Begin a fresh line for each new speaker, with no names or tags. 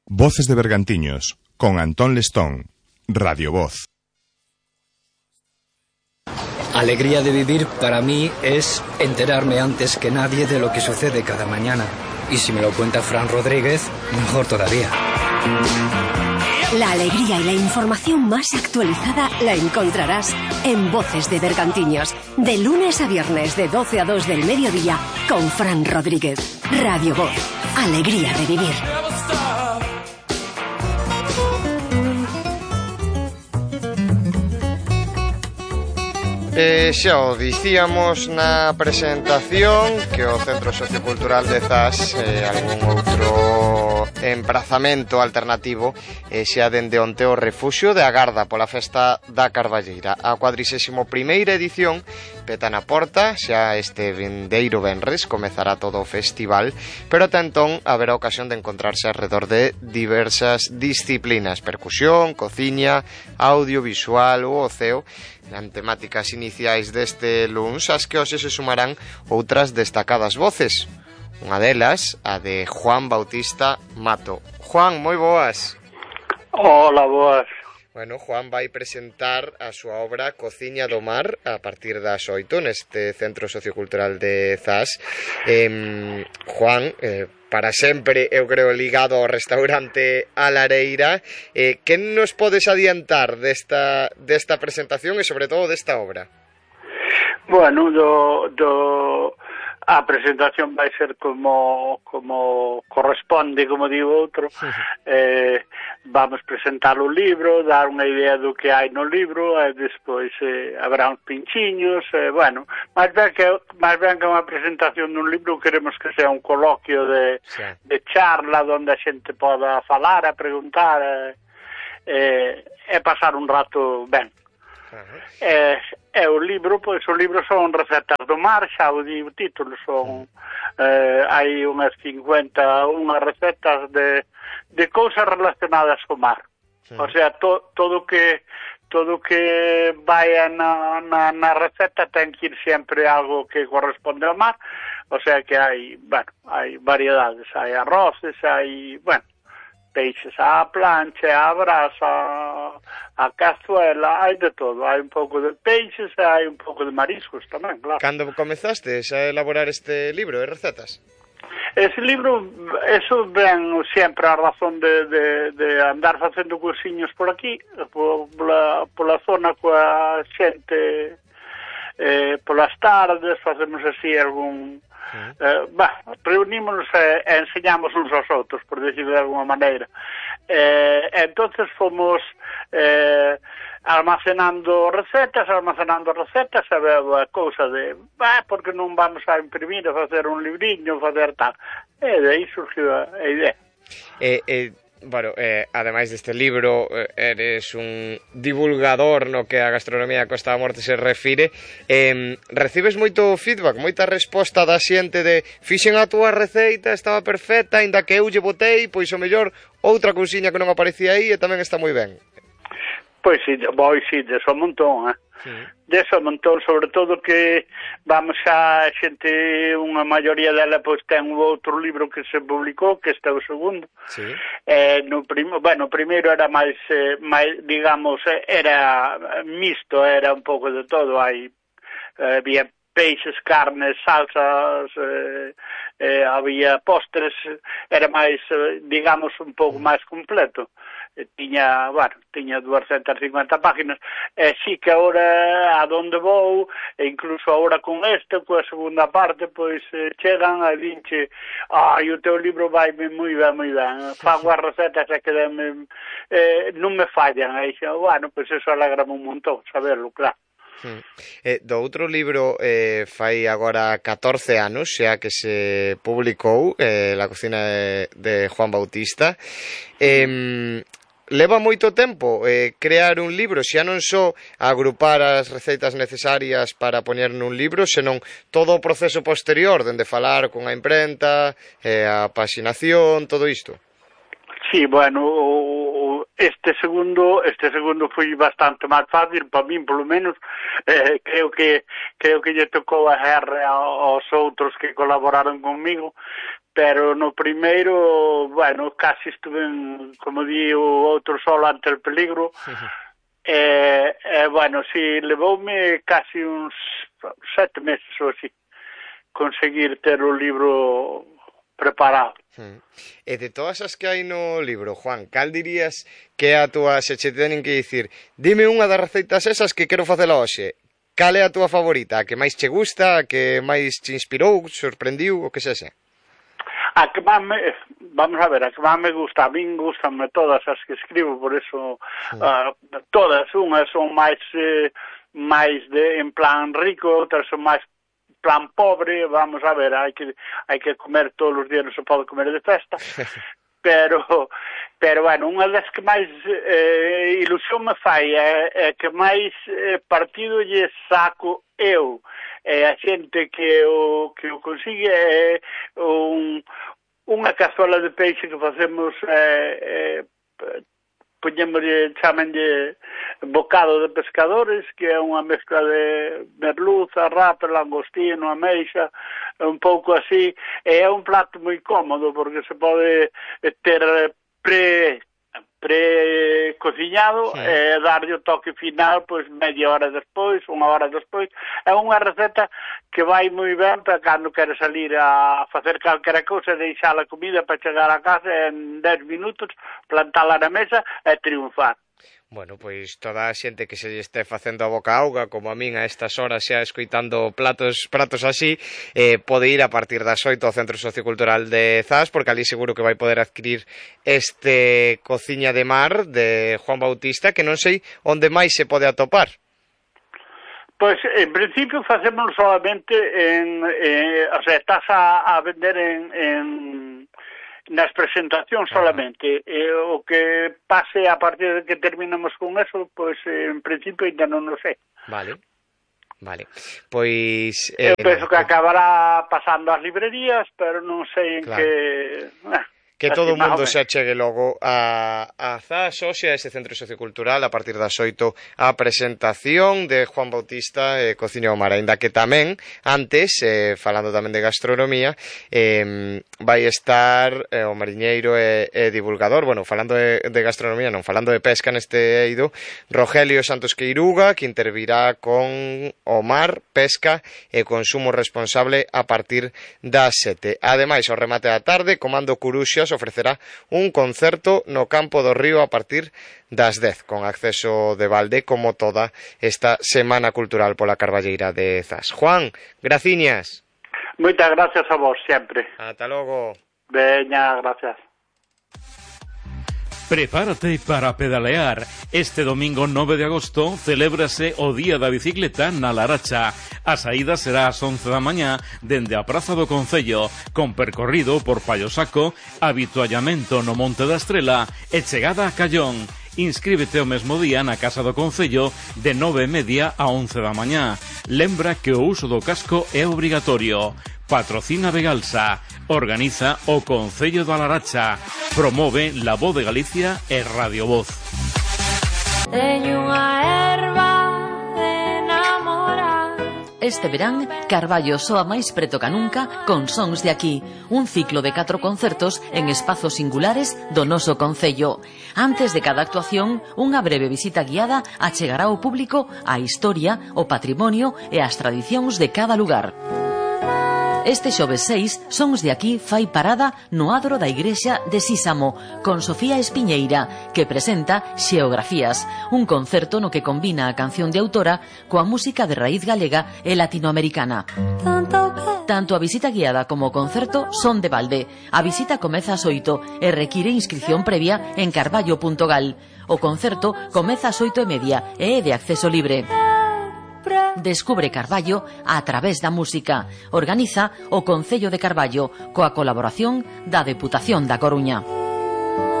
Voces de Bergantiños, con Antón Lestón, Radio Voz.
Alegría de vivir para mí es enterarme antes que nadie de lo que sucede cada mañana. Y si me lo cuenta Fran Rodríguez, mejor todavía.
La alegría y la información más actualizada la encontrarás en Voces de Bergantiños, de lunes a viernes de 12 a 2 del mediodía, con Fran Rodríguez. Radio Voz, alegría de vivir.
Xa o dicíamos na presentación que o Centro Sociocultural de Zas algún outro emprazamento alternativo xa dende onte o refuxio de agarda pola festa da Carballeira. A 41ª edición peta na porta, xa este vindeiro venres comezará todo o festival, pero ata entón haberá ocasión de encontrarse alrededor de diversas disciplinas: percusión, cociña, audiovisual ou oceo, en temáticas iniciais deste luns, as que hoxe se sumarán outras destacadas voces. Unha delas, a de Juan Bautista Mato. Juan, moi boas.
Hola, boas.
Bueno, Juan vai presentar a súa obra Cociña do Mar a partir das 8 neste Centro Sociocultural de Zas. Juan, para sempre, eu creo, ligado ao restaurante A Lareira. Que nos podes adiantar desta presentación e, sobre todo, desta obra?
Bueno, a presentación vai ser como corresponde, como digo outro. Vamos presentar o libro, dar unha idea do que hai no libro, e despois habrá uns pinchiños, bueno, máis ben que unha presentación dun libro, queremos que sea un coloquio de charla onde a xente poda falar, a preguntar e pasar un rato ben. O libro son recetas do mar, xa o di o título, son hai unhas 51 recetas de cousas relacionadas co mar. O sea, todo que vaya na receta ten que ir sempre algo que corresponde ao mar. O sea que hai variedades, hai arroces, hai, peixes á plancha, á brasa, a cazuela, hai de todo. Hai un pouco de peixes e hai un pouco de mariscos tamén, claro.
Cando comezastes a elaborar este libro de recetas?
Ese libro, eso ven sempre a razón de andar facendo cursiños por aquí, pola zona coa xente, polas tardes, facemos así algún... reunímonos e enseñamos uns aos outros, por decirlo de alguma maneira. Entonces fomos almacenando recetas, e veo a cousa de porque non vamos a imprimir, a facer un libriño, facer tal, e de aí surgiu a idea.
Bueno, ademais deste libro, eres un divulgador no que a gastronomía Costa da Morte se refire. Recibes moito feedback, moita resposta da xente de fixen a túa receita, estaba perfecta, aínda que eu lle botei, pois o mellor outra cousiña que non aparecía aí e tamén está moi ben.
Pois sí, deso un montón, deso un montón, sobre todo que vamos a xente, unha maioría dela pois ten outro libro que se publicou, que este é o segundo.
Sí.
No primeiro era máis, digamos, era mixto, era un pouco de todo, había peixes, carnes, salsas, había postres, era máis, digamos, un pouco máis completo. Tiña 250 páginas, e sí que agora a donde vou, e incluso agora con coa segunda parte, pois chegan a dinche, o teu libro vai moi ben, fago as recetas e que non me fallan, e dixo, pois eso alegrame un montón, saberlo, claro.
Do outro libro fai agora 14 anos xa que se publicou, La cocina de Juan Bautista. Leva moito tempo crear un libro, xa non só agrupar as receitas necesarias para poñer nun libro, senón todo o proceso posterior, dende falar con a imprenta, a paxinación, todo isto.
Sí, bueno, este segundo foi bastante máis fácil para min, polo menos. Creo que lle tocou a guerra aos outros que colaboraron conmigo, pero no primeiro, bueno, casi estuve, como di o outro, solo ante el peligro. Bueno, si levoume casi uns 7 meses ou así conseguir ter o libro preparado.
E de todas as que hai no libro, Juan, cal dirías que é a túa, se che tenen que dicir, dime unha das receitas esas que quero facela hoxe, cal é a túa favorita, a que máis che gusta, a que máis te inspirou, sorprendiu, o que sexa?
A que máis vamos a ver, a que máis me gusta, a min gustanme todas as que escribo, por eso todas, unhas son máis en plan rico, outras son máis plan pobre, vamos a ver, hai que comer todos os días, non se pode comer de festa, pero bueno, unha das que máis ilusión me fai é que máis partido lle saco eu, a xente que o consigue é unha cazuela de peixe que facemos, chamenlle bocado de pescadores, que é unha mezcla de merluza, rape, langostino, ameixa, un pouco así. É un plato moi cómodo porque se pode ter pre-cociñado, e darlle o toque final pois media hora despois, unha hora despois. É unha receta que vai moi ben para cando queres salir a facer calquera cousa, deixar a comida para chegar a casa en 10 minutos, plantala na mesa e triunfar.
Bueno, pois toda a xente que se lle este facendo a boca auga, como a min a estas horas xa escoitando pratos así, pode ir a partir das 8 ao Centro Sociocultural de Zas, porque ali seguro que vai poder adquirir este Cociña de Mar de Juan Bautista, que non sei onde máis se pode atopar.
Pois, en principio, facemos solamente o sea, estás a vender nas presentacións solamente. O que pase a partir de que terminamos con eso, pois en principio ainda non o sei. Vale. Pois eu penso que acabará pasando ás librerías, pero non sei en que...
Que todo o mundo se achegue logo a Zas, hoxe, a ese Centro Sociocultural, a partir das 8, a presentación de Juan Bautista, Cociña do Mar, ainda que tamén, antes, falando tamén de gastronomía, vai estar o mariñeiro e divulgador, bueno, falando de gastronomía, non, falando de pesca neste eido, Rogelio Santos Queiruga, que intervirá con o mar, pesca e consumo responsable a partir das 7. Ademais, ao remate da tarde, Comando Curuxas ofrecerá un concerto no Campo do Río a partir das 10, con acceso de balde, como toda esta Semana Cultural pola Carballeira de Zas. Juan, graciñas.
Moitas gracias a vos, sempre.
Ata logo.
Veña, gracias.
Prepárate para pedalear. Este domingo 9 de agosto celébrase o Día da Bicicleta na Laracha. A saída será ás 11 da mañá dende a Praza do Concello, con percorrido por Pallosaco, habituallamento no Monte da Estrela e chegada a Callón. Inscríbete o mesmo día na Casa do Concello de 9:30 a 11 da mañá. Lembra que o uso do casco é obrigatorio. Patrocina Vegalsa. Organiza o Concello da Laracha. Promove La Voz de Galicia e Radio Voz.
Este verán, Carballo soa máis preto ca nunca con Sons de Aquí, un ciclo de 4 concertos en espazos singulares do noso concello. Antes de cada actuación, unha breve visita guiada achegará ao público a historia, o patrimonio e as tradicións de cada lugar. Este xoves 6, Sons de Aquí fai parada no adro da igrexa de Sísamo, con Sofía Espiñeira, que presenta Xeografías, un concerto no que combina a canción de autora coa música de raíz galega e latinoamericana. Tanto a visita guiada como o concerto son de balde. A visita comeza ás 8 e require inscripción previa en carballo.gal. O concerto comeza ás 8:30 e é de acceso libre. Descubre Carballo a través da música. Organiza o Concello de Carballo coa colaboración da Deputación da Coruña.